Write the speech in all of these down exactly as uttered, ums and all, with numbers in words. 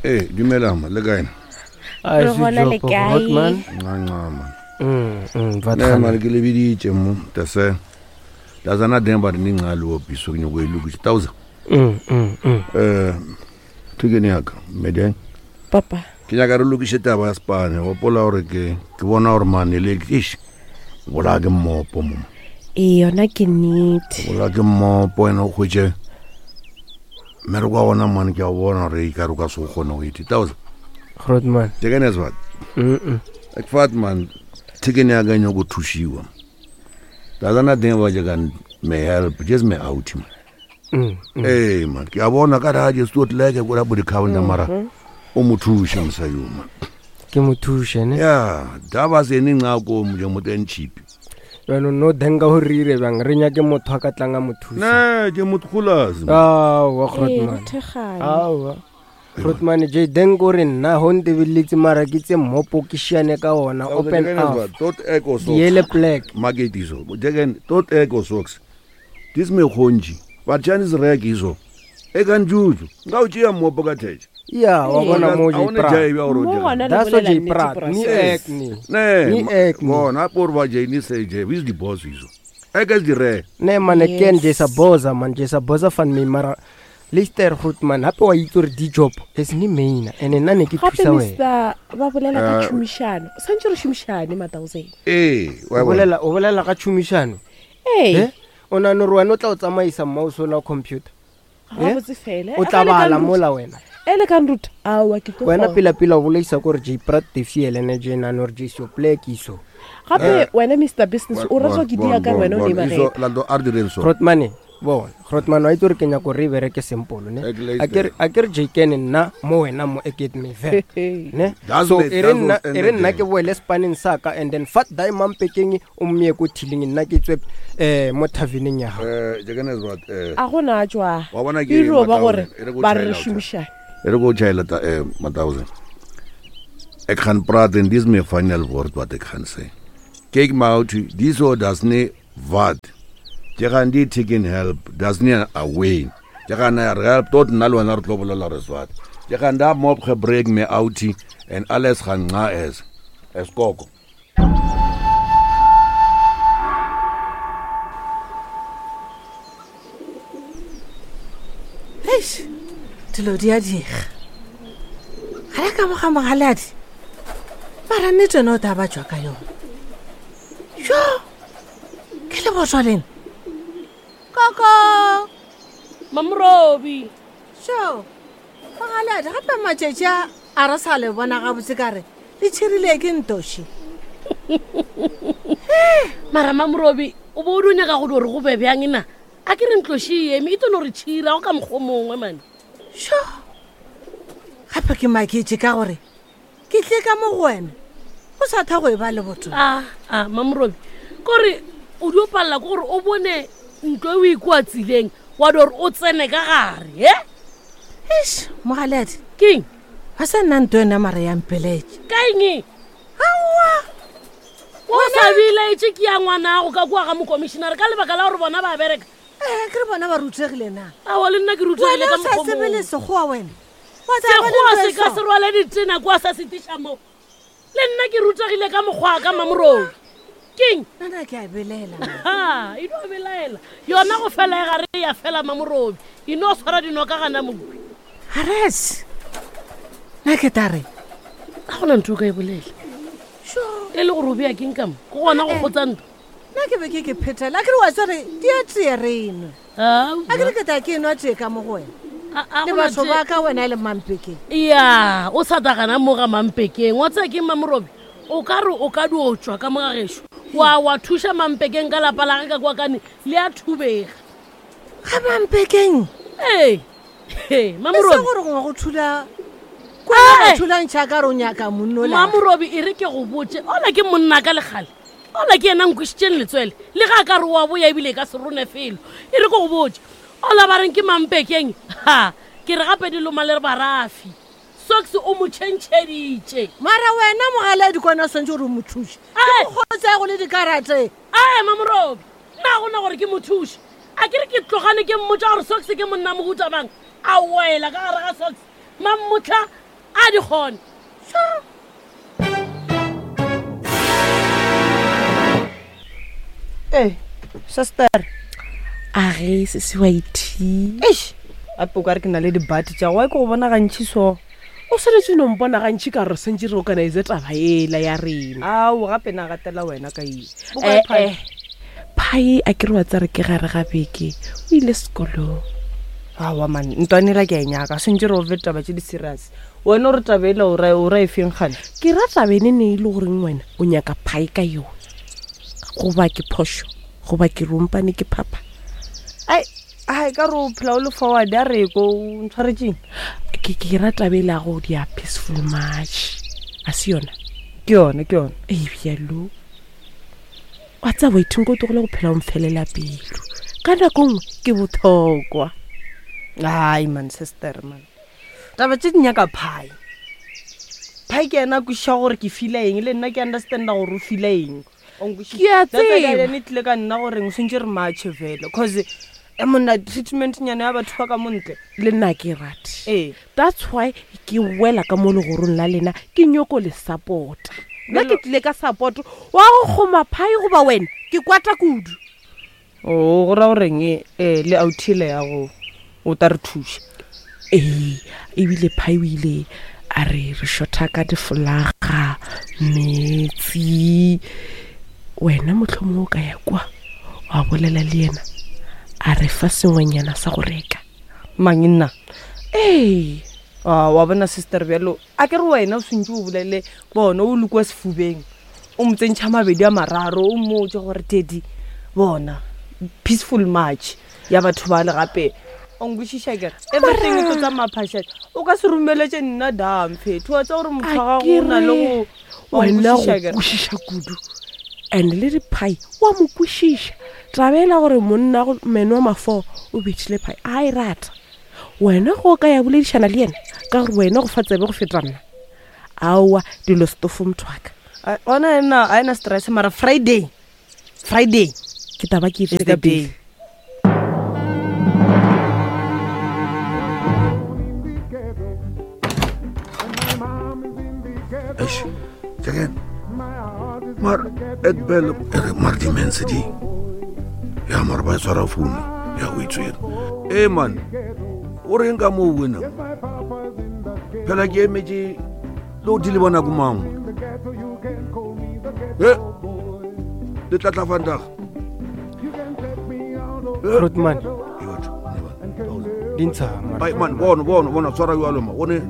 Ee, dumela ma, le kae? Ai, Re gona le kae? Grootman. Nca man. Mm, mm, wat Ne gaan man ke le biditše mo tase. Tazana den ba ni ngalo opiso ke nyoko e lokisa. Thousand. Mm, mm, mm. Eh thekene ya ka medeng. Papa. Ke nyaka re lokiše taba ya spane. Gopola gore ke ke bona gore mane le ish. Bola ke mmopo mo. Ee, yona ke nnete. Bola ke mmopo ene o hwetše mmereko wa gona mane ke a bona gore e ka re o ka se o kgone go ite. Thousand. Grootman. Thekene ya sebata. Mm, mm. Ek vat man, thekene ya ka e nyako thušiwa. Tazana teng ba je kan me help, just me out man. Mm, mm. Ee man, ke a bona ka re a je stot leke ko la bo di-counter mara o mo thuše mosadi o man. Ke mo thuše ne. Ya, da ba se ne nca ko mo je mo ten cheap. Jaanong no denka go re ire bjang re nyake motho a ka tlang a mo thusa. Ne, ke motho golas. Aowa Ee, re Grootman. thekgane. Aowa. Grootman J denk o re nna ho ntebeletse mara ke tse mmopo ke šiane ka ona open up. Tot echo socks. Diele plek. Market iso. Jeken tot echo socks. Dis me khonji. But Chinese rek iso. E kan juju. Nga o tšea mmopo ka thetse. Ya, wa bona mo A J o ne Prat. jai bja gore o Mo dirang. gona le That's what bolela J nnete, Prat. bra. Ni Yes. ek ni. Ne, Ni ma- ek ni. bona por ba jai ni se jai. Who's the boss iso? Ek is die re. Ne man ek ken Yes. J sa boza man J sa boza van my mara Lister Grootman hape wa itse gore di job is ni maina ene nna ne ke Gape thusa wena. mister ba bolela ka Eh, tšhomišano. O santse re šomišane ma-thousand. Ee, wa O bona. bolela o bolela ka tšhomišano. Ee, Eh? O nahana gore wena o tla o tsamaisa mouse ola computer. gabotse fela. O tla bala mola wena. E le ka nruta. Aowa ke tlo Wena kgona. pela pela o bolaisa kore J Prat tefiele ne J nane gore J so plek iso. Gape wena Mister Business o ratwa ke dia ka wena o ne ba Iso reka. la do a re direng so. Grootman bona Grootman wa itse gore ke nyaka gore e bereke simple ne. Ek luister. A ke re a ke re J ken nna mo wena mo ek het my werk. Ne? Das So met- e re das nna ons e re nna einde ke boele spaneng sa ka and then fat daai mampekeng o mmeye ko thiling nna ke tswe eh mo taverneng ya gago. Eh, jeken is wat eh A gona tswa. Wa bona ke E ro ba gore ma-thousand, e re ko ba re re tjhaela o tjha. šomišane. E re ko tjhaela ta eh ma-thousand. Ek gaan praat en dis my final woord wat ek gaan sê. Kyk maar out, dis so das nie wat. Jy gaan die taking help, das nie away. Jy gaan na help tot nna le wena re tlo bolela re swat. Jy gaan daar mop gebreek me outie en alles gaan nca es. Es koko. Eish, dilo di a diega ga le ka moga mogaladi mara nnete ene o ta ba tswa ka yona jo ke le botswa lena koko Mamrobi. sho mogaladi gape matšatši a a re sa le bona gabotse ka re le tšhirile ke ntoši Mara Mamrobi, o bo o di nyaka go di gore go be bjang na? A ke re ntloši e eme e tlo no re tšhira go ka mokgwa o mongwe mane. sho gape ke maketse ka gore ke tle ka mo go wena o sa tha go e ba le botho A a Mamrobi, kore o dio palela ke gore o bone ntlo e o ikwa tsileng wa di gore o tsene ka gare, he? eish mogaladi Keng? ga sa nna nto yona mara ya mpeletse Ka eng? aowa O sa belaetse ke ya ngwanago ka kua ga mokomišenare ka lebaka la gore bona ba bereka. ee ke re bona ba rutegile na Aowa le nna ke rutegile wena ka o sa mokgwa o tsebe le mongwe. sekgowa wena Wa tseba le Sekgowa ntho e se ka so? se rwale ditena kua sa setiša mo. Le nna ke rutegile ka mokgwa ka Mamrobi. Keng? Nna ke a belaela Ha, e no belaela. Yona go fela e gare ya fela Mamorobi. E no tshwara dino ka gana mopi. ares nna ke ta re Ga gona ntho o ka e bolela. sho E le gore o bea keng ka mo? Ke gona go kgotsa ntho. nna ke be ke ke phethela a ke re wa tsere di a tee re enwe a ke re ke ta ke enwa tee ka mo go wena A le gona batho tee- ba ka wena le mampekeng Ya, o sa tla gana mo ga mampekeng. Wa tseba keng Mamorobi? O ka re o ka dio tšwa ka mo ga gešo. Wa wa thuša mampekeng ka lapa la ge ka kwa kane le a thubega. ga mampekeng Ee. He, e se Mamorobi. gore gongwe go thula Eh! kwa thulantšha ka re o nyaka monno la Mamorobi e re ke go botse ola ke monna ka legale ola ke yena nkwišitšeng letswele le ga a ka re wa boya ebile e ka se rone felo e re ke go botse ola ba reng ke mampekeng ha ke re gape di loma le re barafi socks o mo tšhentšheditše mara wena mogaladi kwana o swantse gore o mo thuse Eh! kgotsa go le dikarate ae Mamorobi nna gona gore ke mo thuše a ke re ke tlogane ke mmotsa gore socks ke monna mohuta mang a wela ka gare ga socks mammotlha A di kgone. Ee, sister. A ge se se wa ithi. Eish, gape o ka re ke na le dibati tša go ke go bona gantši so. O swanetse no mpona gantši ka gore sentse re organize taba ela ya rena. Ao, gape na gatela wena ka eng. Eh, eh. Phai a ke re wa tsare ke gare ga beke o ile sekolong. Aowa man, ntwanela ke a e nyaka, sentse re ove taba tše di serious. Wena o re taba ela o ra o ra e feng gane? Ke ra taba ene ne e le goreng wena o nyaka phai ka yona. Goba ke phošo, goba ke rompane ke phapha. Ai, ai ka re o phela o le forward a re ko o ntshwaretseng. Ke ke ra taba ela go dia peaceful march. A se yona? Ke yona, ke yona. Ee, bjalo. Wa tseba waiting ko tlogele go phela o mfelela pelo. Ka nako nngwe ke bothokwa. Ai man, sister man. Taba tše di nyaka phai. Phai ke yena a kwešiša gore ke feela eng, le nna ke understanda gore o feela eng. O nkwešiša? Ke a That's why tseba. ene e tlile ka nna gore o swantse re matche fela, cause e monna treatment nyana ya batho ba ka mo ntle. Le nna ke rate. Ee. That's why ke wela ka mo legorong la lena, ke nyoko le support-a. Nna ke tlile ka support wa go kgoma phai goba wena, ke kwata kudu. O go ra goreng e, eh, le outhile ya go o ta re thuša. Ee, ebile phai o ile a re re shorta ka difolaga, metsi. Wena mohlomongwe o ka ya kwa wa bolela le yena a re fa sengwenyana sa go reka. Mang nna? Ee. Ah, wa bona sister bjalo, a ke re wena o swantse o bolele bona o le kwa sefubeng, o mo tsentšha mabedi a mararo, o mmotse gore tedi bona peaceful march ya batho ba le gape. O nkwešiša kere? Everything e tlo tsamaya phašatša. O ka se romeletse nna dam fetho, wa tseba gore motho wa gago o na le go, wa Wena go nkwešiša kere? kwešiša kudu. And le diphai wa mo kwešiša. Taba ela gore monna go meno wa mafo o bethile phai, a e rata. Wena go ka ya boledišana le yena ka gore wena go fa tsebe go feta nna. Aowa, dilo stofo motho wa ka. A, gona ena, a ena stress mara Friday. Friday. Ke taba ke Is itse the ka day. pele. Eish, Jagan. Maar ek bel eh, maar die mense die. Ja, maar ba tshwara founu. Ya o itswere. Eh man. O reng ka moo wena? Phela ke emetse le o di le bona ko mang? Eh. Le tla tla vandag. Grootman. E batho, ne ba. Di ntsha, mara. Ai man, bona bona bona tshwara jwalo ma. One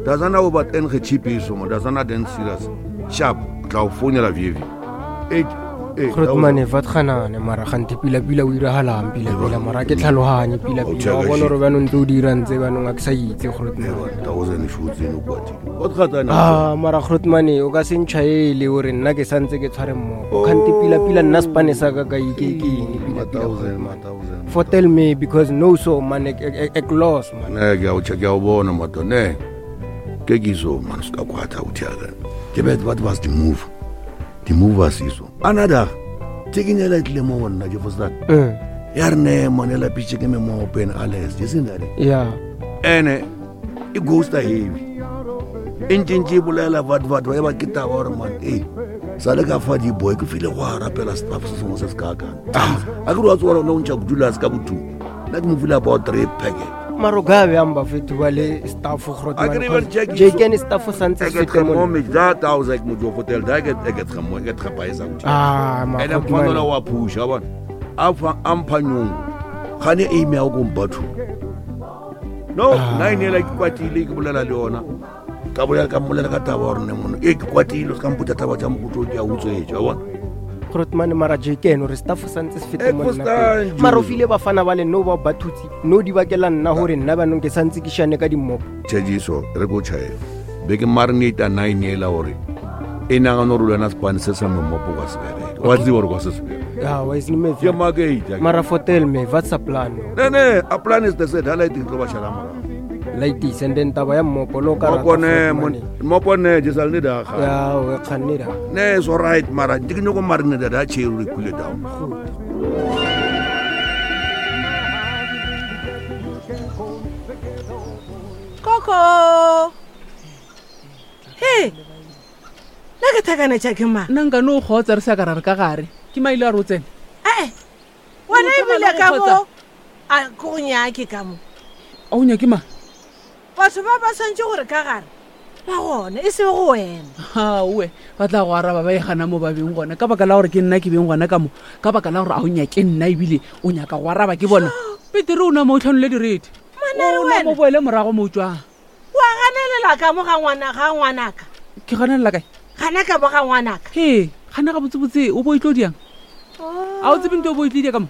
doesn't know about en ge chipiso ma, doesn't den serious. Sharp, tla o founela V V. Eight, eight, Grootman, wat gaan aan, mara gante pila pila o iragalang pila pila, mara ke tlhaloganye pila pila. Wa bona gore banong tse o di dirang tse banong a ke sa itse, Grootman. Thousand shoots in o kwatile. Wat gaan aan? Ah, mara Grootman, o ka se ntšhaele gore nna ke santse ke tshware mmogo. Kgante pila pila nna sepane sa ka ka ike ke eng pila pila, Grootman. For tell me because no so man ek ek ek loss man. Ne, ke a o che ke a o bona mato ne. Ke ke so man ska kwata o thiaka. Ke bet what was the move? The move was iso. Another taking a little mo nna ke for that. Mm. Ya re ne mone la pitche ke me mo open alles. You seen that? Yeah. Ene e ghost heavy. E ntse e bolela what what ba ba ke taba gore man eh sa le ka fa di boy ke file go rapela staff se sengwe se se ka kang. A ke re wa tswa gore o ntšha go dula se ka botho. Nna ke mo file about three packet. Mara o ka bjang bafetho ba le staff A ke re even check J K staff santse Ek se het fete mona. gemommage dat house ek moet jou vertel, daai ek het ek het gemo ek het gepaisa go. Ah, maar En dan goed, van man. hulle wa pusha bona. A fa amphanyong. Gane aim ya go mbatho. No, Ah. nine ela ke kwatile ke bolela le yona. Ka bolela ka mmolela ka taba gore ne mono. E ke kwatile se ka mpotsa taba tsa mokgotso ke a utswetsa wa bona. Grootman mara J K ene gore staff santse se fete Ek mo nna verstaan, pele. Mara o Jules. file bafana ba le no ba ba thutse no di bakela nna gore nna banong ke santse ke shane ka dimmopo. Tšhejiso re ko tšhaela. Be ke marinate nine ela gore e nagana gore le wena sepane se sa memopo kwa se bereke. Wa tseba gore kwa se se bereke. Ya, wa is me. Ke makate. Mara fotel me, what's the plan? Ne ne, a plan is the set. Ha lighting tlo ba shala morago. Lightis and then taba ya mmopo lo ka rata Mmopo ne, Grootman. mmopo ne, je sal ne da ga. Ya, o e kganne da. Ne, it's all right, mara ke nyoko marinate da chair re cool it down. Coco. He nna ke thakanetša ke mang? Nna nkane o kgotsa re sa ka ra re ka gare. Ke maile a re o tsene. Ee wena O ebile tsamaya ka le go mo a ke go nyake ka mo. A o nyake mang? Batho ba ba swantse gore ka gare ba gona e se go wena. Aowe ba tla go araba ba e gana mo ba beng gona ka baka la gore ke nna ke beng gona ka mo ka baka la gore a o nyake nna ebile o nyaka go araba ke bona. Petere o nama o tlhanole direte. Manare O nama wena. o boele morago mo o tswang. Wa ganelela ka mo ga ngwana ga ngwanaka. Ke ganelela kae? Gana ka mo ga ngwanaka. He gana ga botsebotse o bo e tlo diang? A o tsebe nto o bo e tlile ka mo?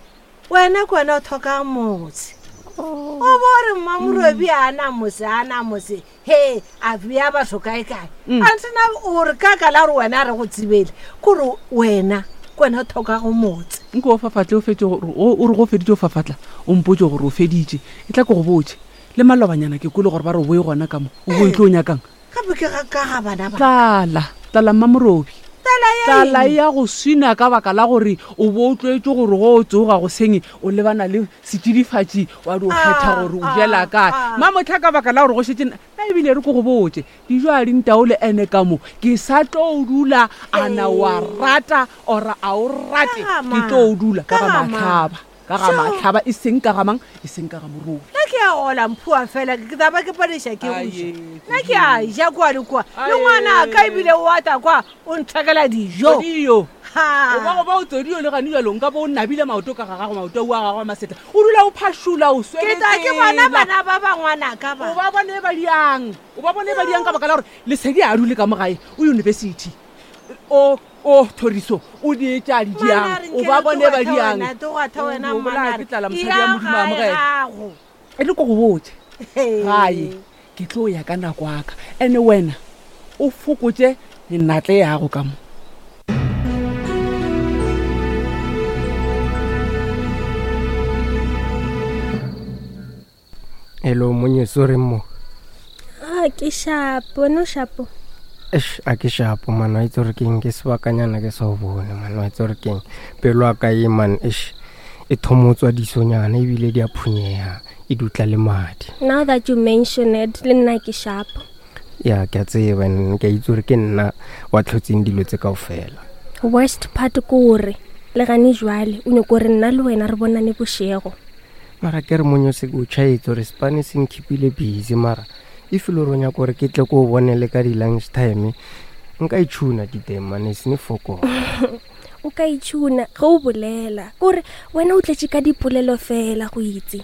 Wena ke wena o thoka motse. O bo re mmamorobi a na motse a na motse he a bea batho kae kae. Mm. Antena o re ka ka la gore wena a re go tsebele kore wena ke wena o thokago motse. Nko o fafatle o fetse gore o o re go feditse o fafatla o mpotse gore o feditše e tla ke go botse le malobanyana ke kwele gore ba re o boe gona ka mo o bo e tlo o nyakang. Gape ke ga ka ga bana ba. Tlala tlala mmamorobi. Tlala ya Tlala eng? ya go swina ka baka la gore o bo o tlwaetse gore go o tsoga go seng o lebana le setsidifatši wa di o kgetha Ah, gore o ah, jela kae. ah. Mamotlha ka baka la gore go šetse nna ebile re ko go botse dijo a di ntaole ene ka mo ke sa tlo o dula a na wa rata ora a o rate Ka ga ke mang? tlo o dula ka Ka ga ga mang? matlhaba ka ga Sure. matlhaba e seng ka ga mang e seng ka ga morobi. Nna ke a gola mphua fela ke taba ke padiša ke go ja. Aye, Nna ke a ja kua le kua le Aye. ngwana ka ebile o ata kwa o nthekela dijo. Tsodio. Ha. O ba go ba o tsodio le gane jalo nka bo o nabile maoto ka ga gago maoto a gago a masetla o dula o phašola o Ke ta ke bona bana ba ba ngwanaka ba. O ba bone ba diang o ba bone ba diang ka baka la gore lesedi a dule ka mo gae o university o o thoriso o di etša di diang o ba bone ba diang O bolaya ke tlala mosadi ya Modimo a amogela. E re ko go botse gae ke tlo ya ka nako ya ka ene wena o fokotse menatle yago ka mo. Hello monyeso reng mo? A ke shapo, wena o shapo. Eish, a ke shapo man wa itse gore keng ke sebakanyana ke sa o bone man wa itse gore keng pelo ya ka e man eish e thomotswa disonyana ebile di a phunyega e dutla le madi. Now that you mention it, le nna ke shapo. Ya ke a tseba and ke a itse gore ke nna wa tlhotseng dilo tse kaofela. Worst part ke gore le gane jwale o nyako gore nna le wena re bonane bošego. Mara ke re monyose o tšhaetse gore sepane se nkhipile busy mara if e le gore o nyaka gore ke tle ko o bone le ka di-lunch time nka itšhuna diteng mane se ne fokola. O ka itšhuna ge o bolela kore wena o tletše ka dipolelo fela go itse.